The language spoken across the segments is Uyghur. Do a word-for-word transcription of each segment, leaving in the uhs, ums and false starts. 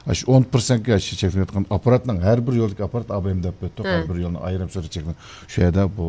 ئاشۇ ئون پىرسەنتكە ئاشۇ چەكلىنىۋاتقان ئاپپاراتنىڭ، ھەر بىر يولدىكى ئاپپارات ئا ب م دەپ ئۆتتۇق، ھە، ھەر بىر يولنىڭ ئايرىم سۈرئەت چەكلىنىپ، شۇ يەردە بۇ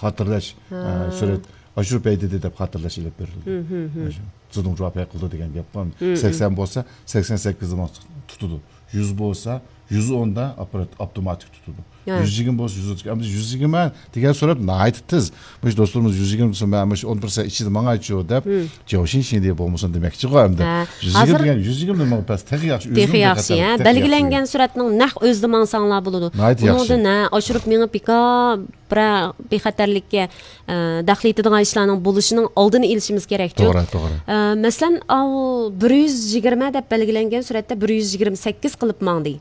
خاتىرىلەش، ھە، ھە، سۈرئەت ئاشۇرۇپ ھەيدىدى دەپ خاتىرىلەش ئېلىپ بېرىلدى. ھە، ھە، ھە. ئاشۇ زىدۇڭ جۇۋاپەي قىلدى دېگەن گەپ بار. ھە، ھە. سەكسەن بولسا، سەكسەن سەككىز دېمەڭ تۇتىدۇ. يۈز بولسا، يۈز ئوندا ئاپپارات ئاپتوماتىك تۇتىدۇ. ھە. يۈز يىگىرمە بولسا، يۈز ئوتتۇز. ئەمدى يۈز يىگىرمە دېگەن سۈرئەت ناھايىتى تېز. مۇشۇ دوستلىرىمىز يۈز يىگىرمە دېسە، مەن مۇشۇ ئون پىرسەنت ئىچىدە ماڭايچۇ دەپ، ھە، جياۋشىن شىندى بولمىسۇن دېمەكچىغۇ ئەمدى. ھە. يۈز يىگىرمە ھازىر دېگەن، يۈز يىگىرمە دېمەڭ پەس، تېخى ياخشى. تېخى ئۆزىنىڭ ياخشى، بىخەتەرلىكى ھە. تېخى ياخشى. بەلگىلەنگەن سۈرئەتنىڭ نەق ئۆزىدە ماڭساڭلار بولىدۇ. ناھايىتى ياخشى. ئۇنىڭدىن، ھە، ئاشۇرۇپ مېڭىپ بىكار بىرەر بىخەتەرلىككە، ئە، دەخلى يېتىدىغان ئىشلارنىڭ بولۇشىنىڭ ئالدىنى ئېلىشىمىز كېرەكچۇ. توغرا، توغرا. ئە، مەسىلەن، ئاۋۇ بىر يۈز يىگىرمە دەپ بەلگىلەنگەن سۈرئەتتە بىر يۈز يىگىرمە سەككىز قىلىپ ماڭدى.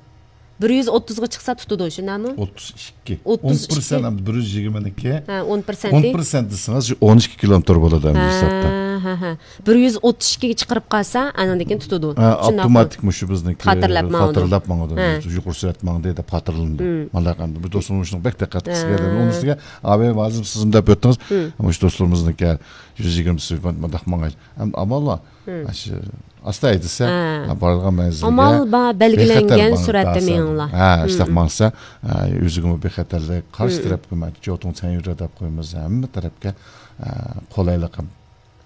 بىر يۈز ئوتتۇزغا چىقسا تۇتىدۇ، شۇنداقمۇ؟ ئوتتۇز ئىككى. ئوتتۇز ئىككى. ئون پىرسەنت ئەمدى بىر يۈز يىگىرمىنىڭكى. ھە، ئون پىرسەنت. ئون پىرسەنت دېسىڭىز، شۇ ئون ئىككى كىلومېتىر بولىدۇ ئەمدى ھە، ھېسابتا. ھە، ھە. بىر يۈز ئوتتۇز ئىككىگە چىقىرىپ قالسا، ئانىڭدىن كېيىن تۇتىدۇ. ھە، شۇنداقمۇ؟ ئاپتوماتىك مۇشۇ بىزنىڭكى خاتىرىلەپ ماڭىدۇ. خاتىرىلەپ ماڭىدۇ. ھە. يۇقىرى سۈرئەت ماڭدى دەپ خاتىرىلىنىدۇ. ھە. مانا ئەمدى بۇ دوستلىرىمىز شۇنىڭ بەك دىققەت قىلسا ھە. كېرەك. ئۇنىڭ ئۈستىگە ئا ب م ھازىر سىزمۇ دەپ ئۆتتىڭىز. ھە. مۇشۇ دوستلىرىمىزنىڭكى يۈز يىگىرمە سۈرئەت مۇنداق ماڭاي. ئەمدى ئامال بار. ھە. ئاشۇ ئاستا ھەيدىسە، ھە. ھە، بارىدىغان مەنزىلگە ئامال بار، بەلگىلەنگەن بىخەتەر ماڭ-، سۈرئەتتە ماڭسا. مېڭىڭلار. ھە، ھە، ئىشتاق ھە. ماڭسا، ھە، ئۆزىگىمۇ بىخەتەرلىك، قارشى ھە. تەرەپكە مەن جوتۇڭ سەنيۈرە دەپ قويىمىز، ھەممە تەرەپكە، ھە، قولايلىق ھەم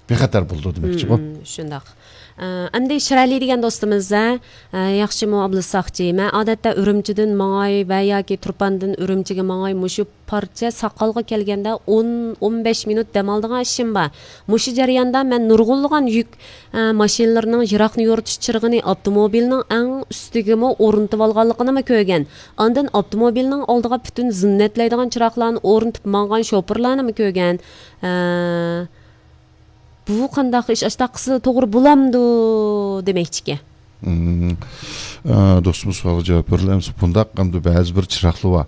بىخەتەر بولىدۇ دېمەكچىغۇ. ھە، ھە، شۇنداق. ئە، ئەمدى شىرەلى دېگەن دوستىمىز، ھە، ئە، ياخشىمۇ ئابلىز ساقچى؟ مەن ئادەتتە ئۈرۈمچىدىن ماڭاي ۋە ياكى تۇرپاندىن ئۈرۈمچىگە ماڭاي، مۇشۇ پارچە ساقالغا كەلگەندە ئون، ئون بەش مىنۇت دەم ئالىدىغان ئىشىم بار. مۇشۇ جەرياندا مەن نۇرغۇنلىغان يۈك، ئە، ماشىنىلىرىنىڭ يىراقنى يورۇتۇش چىرىغىنى ئاپتوموبىلنىڭ ئەڭ ئۈستىگىمۇ ئورنىتىۋالغانلىقىنىمۇ كۆرگەن. ئاندىن ئاپتوموبىلنىڭ ئالدىغا پۈتۈن زىننەتلەيدىغان چىراغلارنى ئورنىتىپ ماڭغان شوپۇرلارنىمۇ كۆرگەن. ئە، بۇ قانداق ئىش؟ ئاشتاق قىلسا توغرا بولامدۇ دېمەكچىكەن. مم. ئە، دوستىمىز سوئالغا جاۋاب بېرىلە ئەمسە، بۇنداق ئەمدى بەزى بىر چىراغلار بار.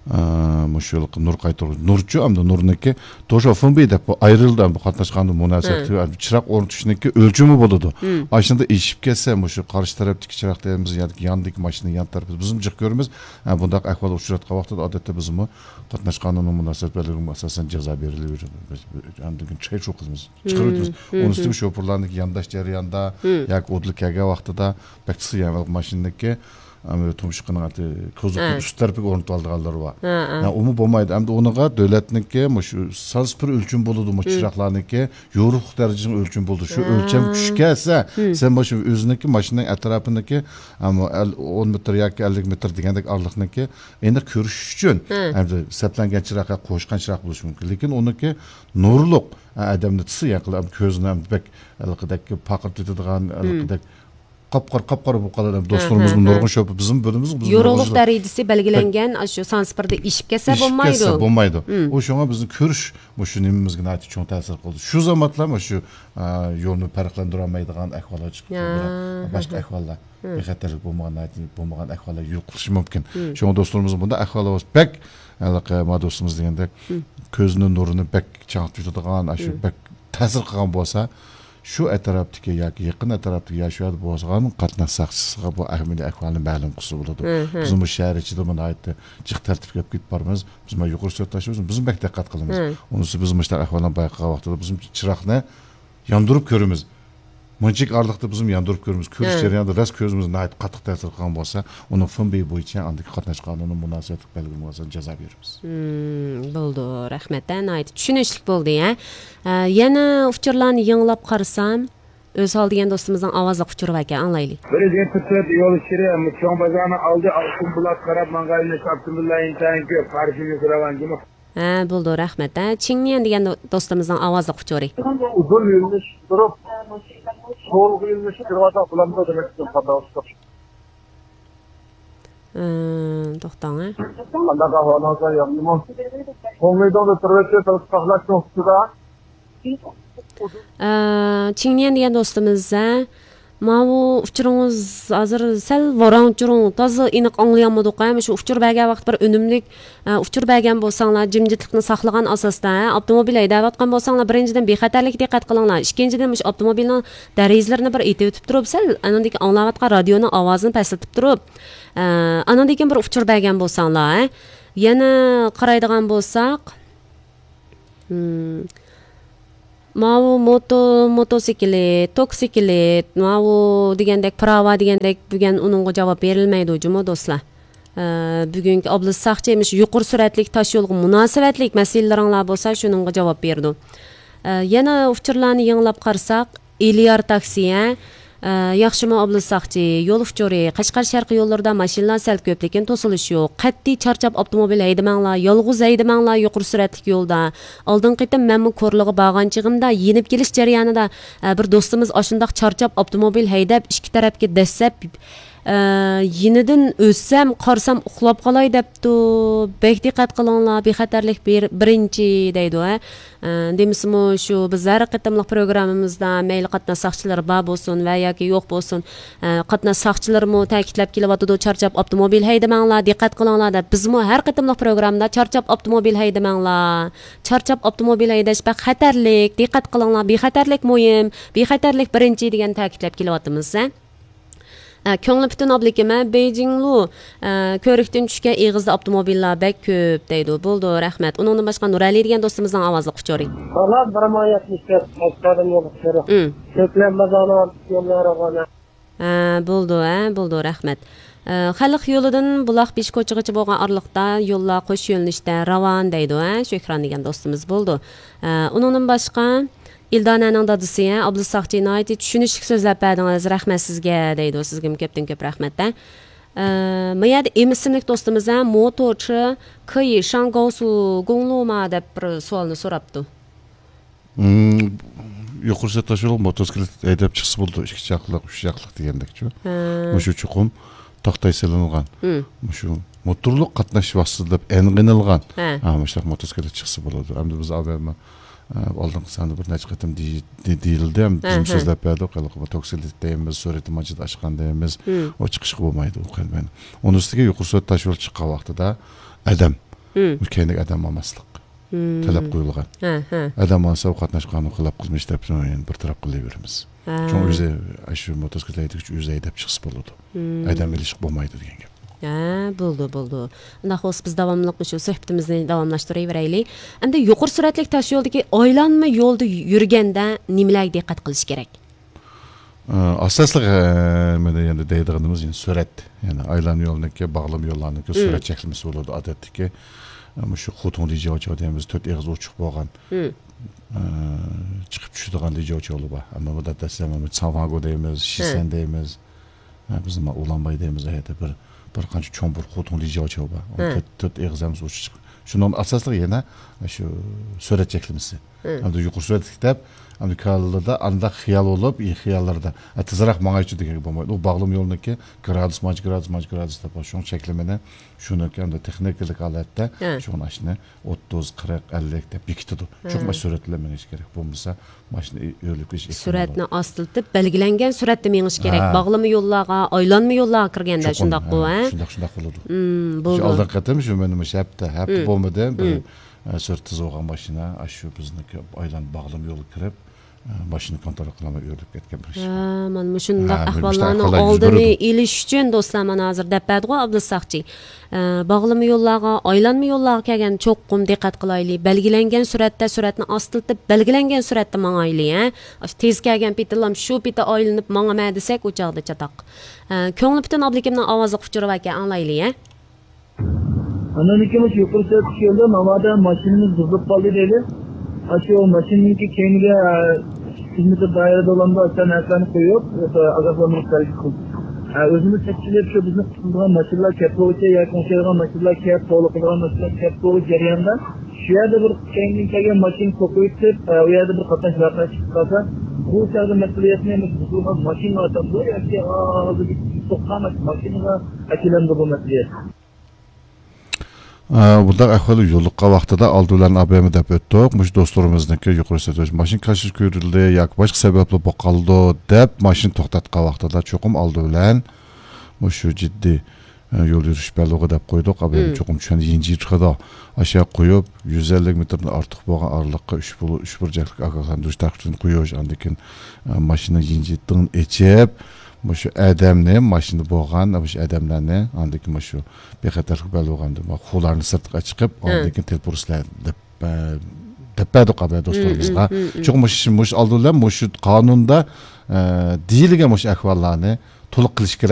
ئە، مۇشۇ يىلقى نۇر قايتۇرغۇچ. نۇرچۇ ئەمدى نۇرنىكى توشا فېنبېي دەپ بۇ ئايرىلدى ئەمدى قاتناشقاندا مۇناسىۋەتلىك ھە. چىراغ ئورنىتىشنىڭكى ئۆلچىمى بولىدۇ. مم. ئاشۇندا ئېشىپ كەتسە مۇشۇ قارشى تەرەپتىكى چىراغ دەيمىز ياكى ياندىكى ماشىنا يان تەرىپى بىزمۇ جىق كۆرىمىز. ئە، بۇنداق ئەھۋال ئۇچراتقان ۋاقتىدا ئادەتتە بىزمۇ قاتناش قانۇنىنىڭ مۇناسىۋەت بەلگىلىمىگە ئاساسەن جازا بېرىلىۋېرىدۇ. بىز ئاندىن كېيىن چەكلىشىۋېتىمىز. چىقىرىۋېتىمىز. مم، ئۇنىڭ ئۈستىگە مم. شوپۇرلارنىڭكى يانداش جەرياندا مم. ياكى ئۇدۇل كەلگەن ۋاقتىدا بەك تېز يەنى ماشىنىنىڭكى، ئەم، تۇمشۇقىنىڭ ئاتى، كوزۇپنىڭ ھە. ئۈست تەرىپىگە ئورنىتىۋالىدىغانلىرى بار. ھە، ھە. يا، ئۇمۇ بولمايدۇ. ئەمدى ئۇنىڭغا دۆلەتنىڭكى مۇشۇ سانسىپىر ئۆلچىمى بولىدۇ، مۇشۇ مم. چىراغلارنىڭكى يورۇقلۇق دەرىجىسىنىڭ ئۆلچىمى بولىدۇ. شۇ ھە. ئۆلچەم چۈشكەنسە، مم. سەن مۇشۇ ئۆزىنىڭكى ماشىنىنىڭ ئەتراپىنىڭكى، ئەم، ئەل-، ئون مېتىر ياكى ئەللىك مېتىر دېگەندەك ئارىلىقنىڭكى ئېنىق كۆرۈش ئۈچۈن، ھە. ئەمدى سەپلەنگەن چىراغ ياكى قوشقان چىراغ بولۇشى مۇمكىن. لېكىن ئۇنىڭكى نۇرلۇق، ئە، ئادەمنى تۇتسا، ياقى ئەمدى كۆزنى ئەمدى بەك ھېلىقىدەك پارقىرىتىدىغان، ھە. ھېلىقىدەك قاپقارا، قاپقارا بولۇپ قالىدۇ. ھە، دوستلىرىمىزمۇ ھە، نۇرغۇن ھە. شوپۇر، بىزمۇ بىرىمىز، بىزمۇ يورۇقلۇق بىر دەرىجىسى بەلگىلەنگەن، ئاشۇ سانسىپىردا ئېشىپ كەتسە ئېشىپ بولمايدۇ. كەتسە بولمايدۇ. مم. ئۇ شۇڭا بىزنىڭ كۆرۈش مۇشۇ نېمىمىزگە ناھايىتى چوڭ تەسىر قىلدى. شۇ زامانلار مۇشۇ، ئا، يولنى پەرقلەندۈرەلمەيدىغان ئەھۋاللار چىقىپ يا، تۇرىدۇ. ھە، باشقا ھە. ئەھۋاللار. مم. بىخەتەرلىك بولمىغان، ناھايىتى بولمىغان ئەھۋاللار يوق قىلىشى مۇمكىن. مم. شۇڭا دوستلىرىمىز بۇنداق ئەھۋاللار بولسا بەك، ھېلىقى ما دوستىمىز دېگەندەك، مم. كۆزنىڭ نۇرىنى بەك چاڭ تۇتىدىغان، ئاشۇ مم. بەك تەسىر قىلغان بولسا، شۇ ئەتراپتىكى ياكى يېقىن ئەتراپتىكى يا شۇ يەردە بولغان قاتناش ساقچىسىغا بۇ ئەمەلىي ئەھۋالنى مەلۇم قىلسا بولىدۇ. مم، مم. بىزمۇ شەھەر ئىچىدىمۇ ناھايىتى جىق تەرتىپكە ئېلىپ كېتىپ بارىمىز. بىزمۇ يۇقىرى سۈرئەت تاشلايمىز، بىزمۇ بەك دىققەت قىلىمىز. مم. ئۇنىسى بىز مۇشۇنداق ئەھۋاللارنى بايقىغان ۋاقتىدا بىزمۇ چىراغنى ياندۇرۇپ كۆرىمىز. مۇنچىلىك ئارىلىقتا بىزمۇ ياندۇرۇپ كۆرىمىز. كۆرۈش ھە. جەريانىدا راست كۆزىمىز ناھايىتى قاتتىق تەسىر قىلغان بولسا، ئۇنىڭ فېنبېي بويىچە ئاندىكى قاتناش قانۇنى مۇناسىۋەتلىك بەلگىلىمىگە ئاساسەن جازا بېرىمىز. مم، بولدى، رەھمەت، ھە، ناھايىتى چۈشىنىشلىك بولدى، ھە. ئە، يەنە ئۇچۇرلارنى يېڭىلاپ قارىسام، ئۆزھال دېگەن دوستىمىزنىڭ ئاۋازلىق ئۇچۇرى باركەن، ئاڭلايلى. بىر يىگىرمە تۆت يول ئىچىدە چوڭ بازارنىڭ ئالدى ئالتۇن بۇلاق قاراپ ماڭغان ئاپتوموبىللار ئىنتايىن كۆپ، قارشى يۈرىدىغان جۇمۇ. ھە، بولدى، رەھمەت. ھە، چىڭنيەن دېگەن دو-، دوستىمىزنىڭ ئاۋازلىق ئۇچۇرى. ئۇزۇن يۆنىلىش تۇرۇپ، سولغا يۆنىلىش كىرىۋاتساق بولامدۇ دېمەك ئۈچۈن قاتناشتۇق. ئە، توختاڭ، ھە. قانداق ئەھۋالىڭىزلار، ياخشىمۇ؟ توڭلىدىڭدا تۇرۇۋېتىپ، ساقلاشنىڭ ئۈستىدە. ئە، چىڭنيەن دېگەن دوستىمىز، ھە. ماۋۇ ئۇچۇرىڭىز ھازىر سەل ۋاراڭ-چۇرۇڭ، تازا ئېنىق ئاڭلىيالمىدۇق، ھە. مۇشۇ ئۇچۇر بەرگەن ۋاقىت بىر ئۈنۈملۈك، ئە، ئۇچۇر بەرگەن بولساڭلار، جىمجىتلىقنى ساقلىغان ئاساستا، ھە. ئاپتوموبىل ھەيدەۋاتقان بولساڭلار، بىرىنچىدىن، بىخەتەرلىككە دىققەت قىلىڭلار. ئىككىنچىدىن، مۇشۇ ئاپتوموبىلنىڭ دېرىزىلىرىنى بىر ئېتىۋېتىپ تۇرۇپ، سەل ئانىڭدىكى ئاڭلاۋاتقان رادىيونىڭ ئاۋازىنى پەسلىتىپ تۇرۇپ، ئە، ئانىڭدىن كېيىن بىر ئۇچۇر بەرگەن بولساڭلار، ھە. يەنە قارايدىغان بولساق، مم. ماۋۇ موتو، موتوسىكلىت، توكسىكلىت، ماۋۇ دېگەندەك، پىراۋا دېگەندەك، بۈگۈن ئۇنىڭغا جاۋاب بېرىلمەيدۇ جۇمۇ، دوستلار. ئە، بۈگۈنكى ئابلىز ساقچى مۇشۇ يۇقىرى سۈرئەتلىك تاش يولغا مۇناسىۋەتلىك مەسىلىلىرىڭلار بولسا، شۇنىڭغا جاۋاب بېرىدۇ. ئە، يەنە ئۇچۇرلارنى يېڭىلاپ قارىساق، ئېلىيار تاكسى، ھە؟ ئە، ياخشىمۇ ئابلىز ساقچى، يول ئۇچۇرى، قەشقەر شەرقىي يوللىرىدا ماشىنىلار سەل كۆپ، لېكىن توسۇلۇش يوق. قەتئىي چارچاپ ئاپتوموبىل ھەيدىمەڭلار، يالغۇز ھەيدىمەڭلار يۇقىرى سۈرئەتلىك يولدا. ئالدىنقى قېتىم مەنمۇ كورلىغا بارغان چېغىمدا يېنىپ كېلىش جەريانىدا، ئە، بىر دوستىمىز ئاشۇنداق چارچاپ ئاپتوموبىل ھەيدەپ ئىككى تەرەپكە دەسسەپ، ئە، يېنىدىن ئۆتسەم، قارىسام ئۇخلاپ قالاي دەپتۇ. بەك دىققەت قىلىڭلار، بىخەتەرلىك بىر-، بىرىنچى دەيدۇ، ھە. ئە، دېمىسىمۇ شۇ بىز ھەر قېتىملىق پروگراممىمىزدا مەيلى قاتناش ساقچىلىرى بار بولسۇن ۋە ياكى يوق بولسۇن، ئە، قاتناش ساقچىلىرىمۇ تەكىتلەپ كېلىۋاتىدۇ، چارچاپ ئاپتوموبىل ھەيدىمەڭلار، دىققەت قىلىڭلار دەپ. بىزمۇ ھەر قېتىملىق پروگراممىدا چارچاپ ئاپتوموبىل ھەيدىمەڭلار، چارچاپ ئاپتوموبىل ھەيدەش بەك خەتەرلىك، دىققەت قىلىڭلار، بىخەتەرلىك مۇھىم، بىخەتەرلىك بىرىنچى دېگەن تەكىتلەپ كېلىۋاتىمىز، ھە. ئە، كۆڭلى پۈتۈن ئابلىكىم، ھە، بېيجىڭلۇ، ئە، كۆۋرۈكتىن چۈشكەن ئېغىزدا ئاپتوموبىللار بەك كۆپ دەيدۇ. بولىدۇ، رەھمەت. ئۇنىڭدىن باشقا نۇرئەلى دېگەن دوستىمىزنىڭ ئاۋازلىق ئۇچۇرى. ئانا بىر ماياتنى كۆپ، ئاشكارىم يول ئۇچۇرى. ئىم. كۆكلەم بازارنىڭ يوللىرى غانا. ھە، بولىدۇ، ھە، بولىدۇ، رەھمەت. ئە، خەلق يولىدىن بۇلاق بېشى كوچىغىچە بولغان ئارىلىقتا يوللار قوش يۆنىلىشتە راۋان دەيدۇ، ھە، شۆھران دېگەن دوستىمىز. بولىدۇ. ئە، ئۇنىڭدىن باشقا، ئىلدانەنىڭ دادىسى، ھە، ئابلىز ساقچى، ناھايىتى چۈشىنىشلىك سۆزلەپ بەردىڭىز، رەھمەت سىزگە دەيدۇ. سىزگىمۇ كۆپتىن كۆپ رەھمەت، ھە. ئە، ما يەردە ئېم ئىسىملىك دوستىمىز، ھە، موتورچى كېيى شاڭگاۋسۇ گۇڭلۇما دەپ بىر سوئالنى سوراپتۇ. مم، يۇقىرى سۈرئەت تاشيولغا موتوسىكلىت ھەيدەپ چىقسا بولىدۇ، ئىككى چاقلىق، ئۈچ چاقلىق دېگەندەكچۇ. ھە. مۇشۇ چوقۇم تاختاي سېلىنغان. مم. مۇشۇ موتورلۇق قاتناش ۋاسىتىسى دەپ ئېنىقلانغان. ھە. ھە، مۇشۇنداق موتوسىكلىت چىقسا بولىدۇ. ئەمدى بىز ئاۋۋال ئالدىنقى ساندا بىر نەچچە قېتىم دېي-، دېي-، دېيىلدى، ھەم ھە، بىزمۇ ھە. سۆزلەپ بەردۇق، ھېلىقى بۇ توكسىلىت دەيمىز، سۈرئىتى مانچىدا ئاشقان دەيمىز، ھىم. ئۇ چىقىشقا بولمايدۇ، ئۇ قەلبەن. ئۇنىڭ ئۈستىگە يۇقىرى سۈرئەت تاشيول چىققان ۋاقتىدا ئادەم، ھىم. كەينىدىكى ئادەم ئالماسلىق ھىم. تەلەپ قويۇلغان. ھە، ھە. ئادەم ئالسا، ئۇ قاتناش قانۇن خىلاپ قىلمىش دەپ، يەنە بىر تەرەپ قىلىۋېرىمىز. ھە. شۇڭا ئۆزى، ئاشۇ موتوسىكلىت ھەيدىگۈچى ئۆزى ھەيدەپ چىقسا بولىدۇ. ھىم. ئادەم ئېلىشقا بولمايدۇ دېگەن گەپ. ھە، بولىدۇ، بولىدۇ. ئۇنداق بولسا، بىز داۋاملىق مۇشۇ سۆھبىتىمىزنى داۋاملاشتۇرۇۋېرەيلى. ئەمدى يۇقىرى سۈرئەتلىك تاشيولدىكى ئايلانما يولدا يۈرگەندە نېمىلەرگە دىققەت قىلىش كېرەك؟ ئە، ئاساسلىق، ئە، مانا يەنە دەيدىغىنىمىز يەنە سۈرئەت. يەنى ئايلانما يولنىڭكى، باغلىما يوللارنىڭكى مم. سۈرئەت چەكلىمىسى بولىدۇ. ئادەتتىكى، ئە، مۇشۇ خۇتۇڭ لىجياۋچاۋ دەيمىز، تۆت ئېغىز ئوچۇق بولغان، مم. ئە، چىقىپ چۈشىدىغان لىجياۋچاۋلار بار. ئەمما بۇ دەسلەپ چاۋاگو دەيمىز، ھە. شىسەن دەيمىز. ھە، بىز نېمە ئۇلانباي دەيمىز، ئۇ يەردە بىر، بىر قانچە چوڭ بىر خۇتۇڭ لىجياۋچاۋ بار. ئۇ ھە. تۆت، تۆت ئېغىز ھەممىسى ئوچۇق چىقىپ. شۇنىڭ ئاساسلىقى يەنە شۇ سۈرئەت چەكلىمىسى. ھە. ئەمدى يۇقىرى سۈرئەتلىك دەپ، ئەمدى كاللىدا ئانداق خىيال بولۇپ، ئى، خىياللىرىدا، ئە، تېزراق ماڭايچۇ دېگەنگە بولمايدۇ. ئۇ باغلىما يولنىڭكى گرادۇس، مانچە گرادۇس، مانچە گرادۇس دەپ بار. شۇڭا چەكلىمىنى شۇنىڭكى ئەمدى تېخنىكىلىق ھالەتتە ھە. شۇنى ئاشۇنى ئوتتۇز، قىرىق، ئەللىك دەپ بېكىتىدۇ. ھە. چوقۇم ئاشۇ سۈرئەت بىلەن مېڭىش كېرەك. بولمىسا، ماشىنا ئۆ-، ئۆرۈلۈپ كېتىش ئېھتىمالى بار. سۈرئەتنى ئاستىلىتىپ، بەلگىلەنگەن سۈرئەتتە مېڭىش كېرەك. ھە. باغلىما يوللارغا، ئايلانما يوللارغا كىرگەندە چوقۇم، شۇنداققۇ، ھە، ھە؟ شۇنداق، شۇنداق بولىدۇ. مم، شۇ بولىدۇ. ئالدىنقى قېتىم شۇ مېنىڭ مۇشۇ ھەپتە، ھەپتە مم. بولمىدى. بىر، مم. ئە، سۈرئىتى تېز بولغان ماشىنا، ئاشۇ بىزنىڭكى ئايلان باغلىما يولغا كىرىپ، ئە، ماشىنا كونترول قىلالماي ئۆرۈلۈپ كەتكەن بىر ئىش. ھە، مانا مۇشۇنداق ھە، مۇشۇنداق ئەھۋاللارنىڭ ئالدىنى ئېلىش ئۈچۈن، دوستلار، مانا ھازىر دەپ بەردىغۇ ئابدۇل ساقچى. ئە، باغلىما يوللارغا، ئايلانما يوللارغا كەلگەندە چوقۇم دىققەت قىلايلى. بەلگىلەنگەن سۈرئەتتە، سۈرئەتنى ئاستىلىتىپ، بەلگىلەنگەن سۈرئەتتە ماڭايلى، ھە. ئاشۇ تېز كەلگەن پېتىلام شۇ پېتى ئايلىنىپ ماڭىمەن دېسەك، ئۇ چاغدا چاتاق. ئە، كۆڭلى پۈتۈن ئابلىكىمنىڭ ئاۋازلىق ئۇچۇرى باركەن، ئاڭلايلى، ھە. ئاندىن كېيىن مۇشۇ يۇقىرى سۈرئەتتىكى يولدا ناۋادا ماشىنىمىز بۇزۇلۇپ قالدى دەيلى. ئاشۇ ماشىنىنىڭكى كەينىگە، ئە، يۈز مېتىر دائىرىدە بولامدۇ، ئاشۇ نەرسىلەرنى قويۇپ، ئاشۇ ئاگاھلاندۇرۇش بەرگۈسى. ئە، ئۆزىمىز تەكشۈرۈپ، شۇ بىزنى قۇتقۇزىدىغان ماشىنىلار كەپ بولغۇچە ياكى ئوڭشايدىغان ماشىنىلار كەپ، تولا قىلىدىغان ماشىنىلار كەپ بولغۇچە جەرياندا شۇ يەردە بىر كەينىدىن كەلگەن ماشىنا توقۇيۇپ، ئە، ئۇ يەردە بىر قاتناش ۋەقە چىقىپ قالسا، بۇ چاغدا مەسئۇلىيەتنى مۇشۇ بۇزۇلغان ماشىنا ئالامدۇ ياكى ھازىر سوققان ماشىنىغا ئەكېلەمدۇ بۇ مەسئۇلىيەت؟ ئە، بۇنداق ئەھۋال يولۇققان ۋاقتىدا ئالدى بىلەن ئابېمە دەپ ئۆتتۇق. مۇشۇ دوستلىرىمىزنىڭكى يۇقىرى سۈرئەت ماشىنا كاشىر كۆرۈلدى ياكى باشقا سەۋەبلەر بولۇپ قالىدۇ دەپ ماشىنا توختاتقان ۋاقتىدا چوقۇم ئالدى بىلەن مۇشۇ جىددىي، ئە، يول يۈرۈش بەللىغى دەپ قويدۇق. ئابېمە مم. چوقۇم چۈشەندى يىنجى چىقىدۇ. ئاشۇ قويۇپ، يۈز ئەللىك مېتىردىن ئارتۇق بولغان ئارىلىققا ئۈچ بۇل-، ئۈچ بۇرجەكلىك ئاگاھلاندۇرۇش تارقىتىشنى قويۇش، ئاندىن كېيىن، ئە، ماشىنىنىڭ يىنجىتىنى ئېچىپ، مۇشۇ ئادەمنى، ماشىنىدا بولغان مۇشۇ ئادەملەرنى، ئاندىن كېيىن مۇشۇ بىخەتەرلىك بەلگىلىگەندە، خۇلارنى سىرتقا چىقىپ، ھە. ئاندىن كېيىن تېلېفون ئۇرسىلەر دەپ، ئە، دەپ بەردۇق ئابايا دوستلىرىمىزغا. شۇڭا مۇشۇ مۇشۇ ئالدى بىلەن مۇشۇ قانۇندا ئە، دېيىلگەن مۇشۇ ئەھۋاللارنى تولۇق قىلىش كېرەك.